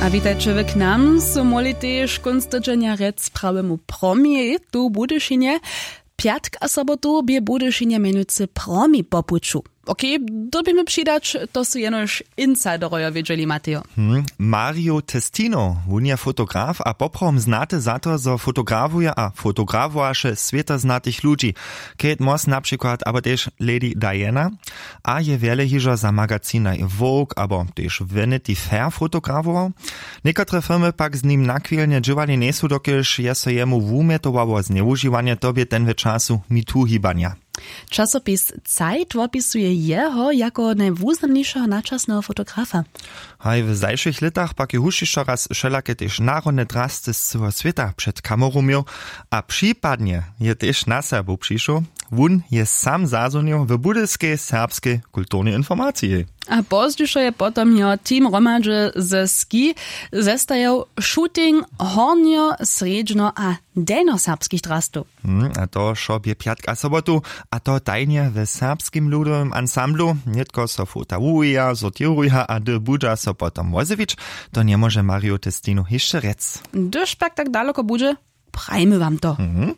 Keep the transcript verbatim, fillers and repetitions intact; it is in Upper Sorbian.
A witajće w k nam su móhli tež kónc tydźenja rjec prawemu promjej tu w budyšinje. Pjatk a sobotu bě budyšinje mjenujcy promjej po puću. Okej, dyrbimy přidać, to su jenož insiderojo wědźeli, matejo. Hm, mario testino, wón je fotograf a poprawom znaty za to, zo fotografuje a fotografowaše swětoznatych ludźi, kate moss na přikład abo tež lady diana, a je wjele hižo za magazinaj vogue abo tež vanity fair fotografował. Někotre firmy pak z nim nachwilnje dźěłali njejsu, dokelž je so jemu wumjetowało znjewužiwanje, to bě ten w času metoo hibanja. Časopis zeit wopisuje jeho jako najwuznamnišeho načasneho fotografa. Haj, w zašłych lětach pak je hušćišćo raz wšelake tež narodne drasty z cyłeho swěta před kameru měł. A připadnje je tež na serbow přišoł. Wón je sam zazwonił w budyskej serbskej kulturnej informaciji. A pozdźišo je potom jeho team hromadźe ze ski zestajał shooting hornjo srjedźno a delnjoserbskich drastow. Hm, a to wšo bě pjatk a sobotu. A to tajnje w serbskim ludowym ansamblu. Nětko so fota wuwija, sortiruja a hdy budźa so potom wozjewić, to njemóže mario testinu hišće rjec. Hdyž pak tak daloko budźe, prajmy wam to. Mhm.